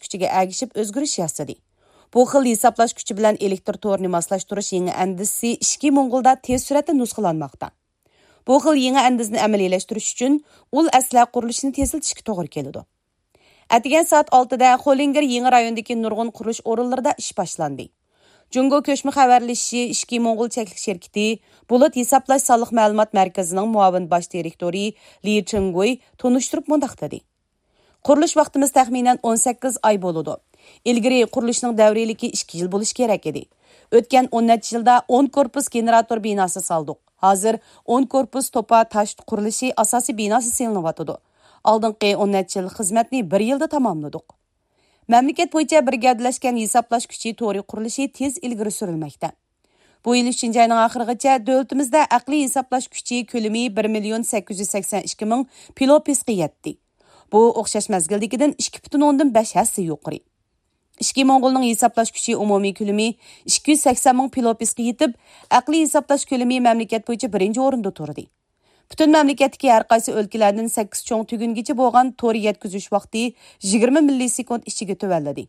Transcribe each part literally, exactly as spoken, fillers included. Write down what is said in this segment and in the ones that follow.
كۈچىگە ئەگىشىپ ئۆزگىرىش ياسىدى. بۇ خىل ھېسابلاش كۈچى بىلەن ئېلېكتر تورىنى ماسلاشتۇرۇش يېڭى ئەندىزىسى ئىچكى موڭغۇلدا تېز سۈرئەتتە نۇسخىلانماقتا. بۇ خىل يېڭى ئەندىزىنى ئەمەلىيلەشتۈرۈش ئۈچۈن ئۇل ئەسلىھە قۇرۇلۇشىنى تېزلىتىشكە توغرا كېلىدۇ. ئەتىگەن سائەت ئالتىدە خولىنگېر يېڭى رايونىدىكى نۇرغۇن قۇرۇلۇش ئورۇنلىرىدا ئىش باشلاندى. جۇڭگو كۆچمە خەۋەر ئېلىشى ئىچكى موڭغۇل چەكلىك شىركىتى بۇلۇت ھېسابلاش سانلىق مەلۇمات مەركىزىنىڭ مۇئاۋىن باش دىرېكتورى لى چېڭگۇي تونۇشتۇرۇپ مۇنداق دېدى: قۇرۇلۇش ۋاقتىمىز تەخمىنەن ئون سەككىز ئاي بولىدۇ. ئىلگىرى قۇرۇلۇشنىڭ دەۋرىيلىكى ئىككى يىل بولۇشى كېرەك ئىدى. ئۆتكەن ئون نەچچە يىلدا ئون كورپۇس گېنېراتور بىناسى سالدۇق. ھازىر ئون كورپۇس توپا تاش قۇرۇلۇشى ئاساسىي بىناسى سېلىنىۋاتىدۇ. ئالدىنقى ئون نەچچە يىل خىزمەتنى بىر يىلدا تاماملىدۇق. مەملىكەت بويىچە بىر گەۋدىلەشكەن ھېسابلاش كۈچى تورى قۇرۇلۇشى تېز ئىلگىرى سۈرۈلمەكتە. بۇ يىل ئۈچىنچى ئاينىڭ ئاخىرىغىچە دۆلىتىمىزدە ئەقلىي ھېسابلاش كۈچى كۆلىمى بىر مىليون سەككىز يۈز سەكسەن ئىككى مىڭ پىلوپىسقا يەتتى. بۇ ئوخشاش مەزگىلدىكىدىن ئىككى پۈتۈن ئوندىن بەش ھەسسە يۇقىرى. ئىچكى موڭغۇلنىڭ ھېسابلاش كۈچى ئومۇمىي كۆلىمى ئىككى يۈز سەكسەن مىڭ پىلوپىسقا يېتىپ، ئەقلىي ھېسابلاش كۆلىمى مەملىكەت بويىچە بىرىنچى ئورۇندا تۇردى. پۈتۈن مەملىكەتتىكى ھەر قايسى ئۆلكىلەردىن سەككىز چوڭ تۈگۈنگىچە بولغان تور يەتكۈزۈش ۋاقتى يىگىرمە مىللىسېكۇنت ئىچىگە تۆۋەنلىدى.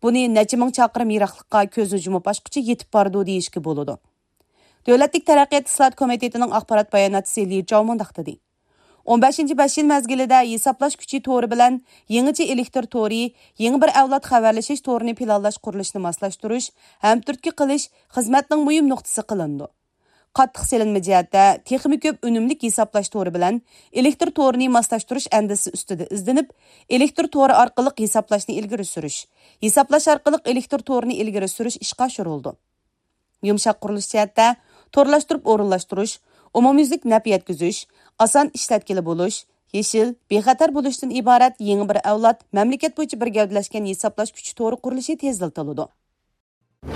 بۇنى نەچچە مىڭ چاقىرىم يىراقلىققا كۆزنى يۇمۇپ ئاچقۇچە يېتىپ بارىدۇ دېيىشكە بولىدۇ. دۆلەتلىك تەرەققىيات ئىسلاھات كومىتېتىنىڭ ئاخبارات باياناتچىسى لى جاۋ مۇنداق دېدى: ئون بەشىنچى بەش يىل مەزگىلىدە ھېسابلاش كۈچى تورى بىلەن يېڭىچە ئېلېكتر تورى، يېڭى بىر ئەۋلاد خەۋەرلىشىش تورىنى پىلانلاش قۇرۇلۇشىنى ماسلاشتۇرۇش ھەم تۈرتكە قىلىش خىزمەتنىڭ مۇھىم نۇقتىسى قىلىنىدۇ. قاتتىق سېلىنما جەھەتتە تېخىمۇ كۆپ ئۈنۈملۈك ھېسابلاش تورى بىلەن ئېلېكتر تورىنى ماسلاشتۇرۇش ئەندىزىسى ئۈستىدە ئىزدىنىپ، ئېلېكتر تورى ئارقىلىق ھېسابلاشنى ئىلگىرى سۈرۈش، ھېسابلاش ئارقىلىق ئېلېكتر تورىنى ئىلگىرى سۈرۈش ئىشقا ئاشۇرۇلىدۇ. يۇمشاق قۇرۇلۇش جەھەتتە تورلاشتۇرۇپ ئورۇنلاشتۇرۇش، ئومۇميۈزلۈك نەپ يەتكۈزۈش، ئاسان ئىشلەتكىلى بولۇش، يېشىل، بىخەتەر بولۇشتىن ئىبارەت يېڭى بىر ئەۋلاد مەملىكەت بويىچە بىر گەۋدىلەشكەن ھېسابلاش كۈچى تورى قۇرۇلۇشى تېزلىتىلىدۇ.